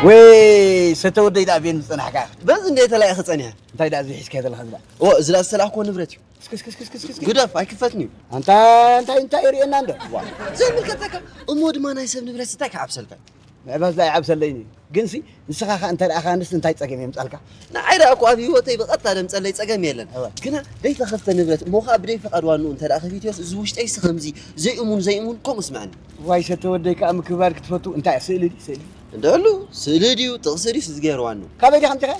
ወይ ሰተ ወደይ ደኣ ቤን ዝጸናሕካ? በዚ እንደ ተላኢኺ ጸኒሐ። እንታይ ደኣ እዚ ሒዝካዮ ዘለኻ እዚ ደኣ? ኦ፣ እዚ ደኣ ዝተላእክዎ ንብረት እዩ። እስኪ፣ እስኪ፣ እስኪ፣ እስኪ፣ እስኪ። ግደፍ፣ ኣይክፈትን እዩ። ኣንታ እንታይ፣ እንታይ የርእየና እንዶ? ዋ፣ ዘይምልከተካ። እሞ ድማ ናይ ሰብ ንብረት እንታይ ክዓብሰልካ? ምዕባስ ደኣ ይዓብሰለይኒ። ግንሲ ንስኻ ኸኣ እንተ ደኣ ኸኣ ንስ እንታይ ጸገም የምጻልካ? ንዓይ ደኣ እኮ ኣብ ህይወተይ ብቐጥታ ደምጸለይ ጸገም የለን። እወ። ግና ደይተኸፍተ ንብረት እሞ ኸኣ ብደይ ፍቓድ ዋንኡ እንተ ደኣ ከፊትዮስ እዚ ውሽጠይሲ ከምዚ ዘይእሙን ዘይእሙን ከምኡ ስምዐኒ። ዋይ ሰተ ወደይ ከኣ ምክብባር ክትፈቱ እንታይ ስእሊ ድዩ ስእሊ? እንደሉ ስእሊ ድዩ ጥቕሲ ድዩ ዝገይር ዋንኡ? ካበይ ዲኻ ኣምጺኻ?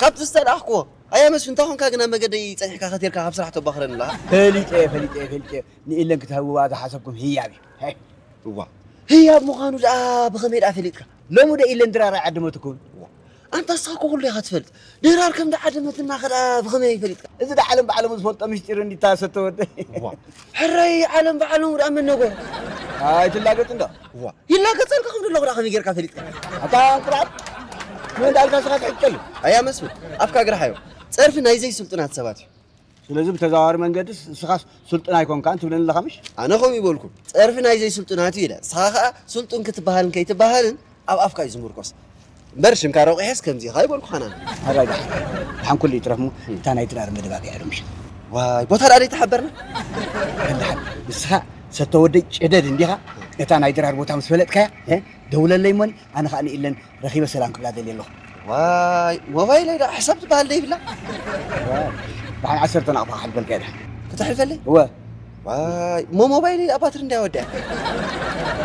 ካብቲ ዝተላእኽክዎ። ኣያ መስፍን እንታይ ኾንካ ግን ኣብ መገደይ ጸኒሕካ ከቲርካ ካብ ስራሕ ተባኽረኒ ኣለኻ? ፈሊጠ እየ፣ ፈሊጠ እየ፣ ፈሊጠ እየ። ንኢለን ክትህብዋ ዝሓሰብኩም ህያብ እዩ። ሄይ። እዋ፣ ህያብ ምዃኑ ደኣ ብኸመይ ደኣ ፈሊጥካ? ሎሚ ዶ ኢለን ድራር ኣይዓደመትኩን? እዋ፣ ኣንታ ንስኻ እኮ ኩሉ ኢኻ ትፈልጥ። ድራር ከም ደዓደመትና ከ ደኣ ብኸመይ ፈሊጥካ? እዚ ደኣ ዓለም ብዓለሙ ዝፈልጦ ምስጢር እንዲታ ሰተ ወደይ። እዋ፣ ሕራይ ዓለም ብዓለሙ ደኣ መን ነገሩ? ኣይትላገጽ እንዶ። እዋ፣ ይላገጸልካ ከም ዘለኹ ደኣ ከመይ ጌርካ ፈሊጥካ? ኣታ እንቁራር፣ መን እንዳልካ ስኻ ትሕጨሉ? ኣያ መስፍን፣ ኣፍካ ግርሓዮ። ጸርፊ ናይ ዘይስልጡናት ሰባት እዩ። ስለዚ ብተዘዋዋሪ መንገድስ ንስኻስ ስልጡን ኣይኮንካን ትብለኒ ኣለኻ ምሽ? ኣነ ከምኡ ይበልኩ። ጸርፊ ናይ ዘይስልጡናት እዩ ኢለ። ንስኻ ኸኣ ስልጡን ክትበሃልን ከይትበሃልን ኣብ ኣፍካ እዩ ዝምርኮስ። እምበር ሽምካ ረቑሐስ ከምዚ ኢኻ ኣይበልኩኻን ኣነ። ኣራይ ደሓን። ደሓን ኩሉ ይትረፍ እሞ እታ ናይ ድራር መደባት እያ ዶ ምሽ? ዋይ፣ ቦታ ደኣ ዘይተሓበርና? ደሓን። ንስኻ ሰተ ወደይ ጨደድ እንዲኻ? እታ ናይ ድራር ቦታ ምስ ፈለጥካያ፣ እ? ደውለለይ እሞኒ፣ ኣነ ኸኣ ንኢለን ረኺበ ሰላም ክብላ ደልየ ኣለኹ። ዋይ፣ ሞባይለይ ደኣ ሕሳብ ትበሃል ዶ ይብላ? ዋይ፣ ደሓን ዓሰርተ ናቕፋ ክሓልፈልካ እየ ደሓን። ከተሕልፈለይ? እወ። ዋይ፣ እሞ ሞባይለይ ደኣ ባትሪ እንታይ ወዲኣ?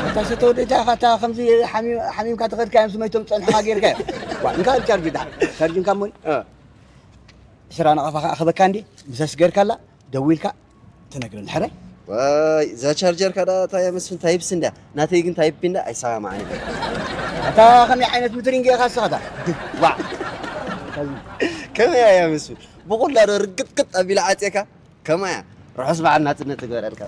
እታ ሰተ ወደይ እንታይ ኢኻ፣ እታ ከምዚ ሓሚም-፣ ሓሚምካ ተኸድካዮም ስመይቶም ጸንሑኻ ጌርካዮ። ዋ፣ እንካ ቻርጅ ደሓን። ቻርጅ እንካ እሞኒ። እ። ዕስራ ናቕፋ ከኣ ክበካ እንዴ፣ ምስ ኣስገርካላ ደዊልካ ትነግረኒ ሕራይ። ዋይ፣ እዛ ቻርጀርካ ደኣ እታ እያ መስፍን ታይፕሲ እንድያ። ናተይ ግን ታይፕ ቢ እንዳ ኣይሰማማዕን እዩ። ኣታ ከመይ ዓይነት ምትሪንግ ኢኻ ንስኻ እታ? ዋዕ። ከመይ እያ መስፍን? ብቑላ ዶ ርግጥቅጥ ኣቢላ ዓጽየካ? ከማያ ርሑስ በዓል ናጽነት ትግበረልካ።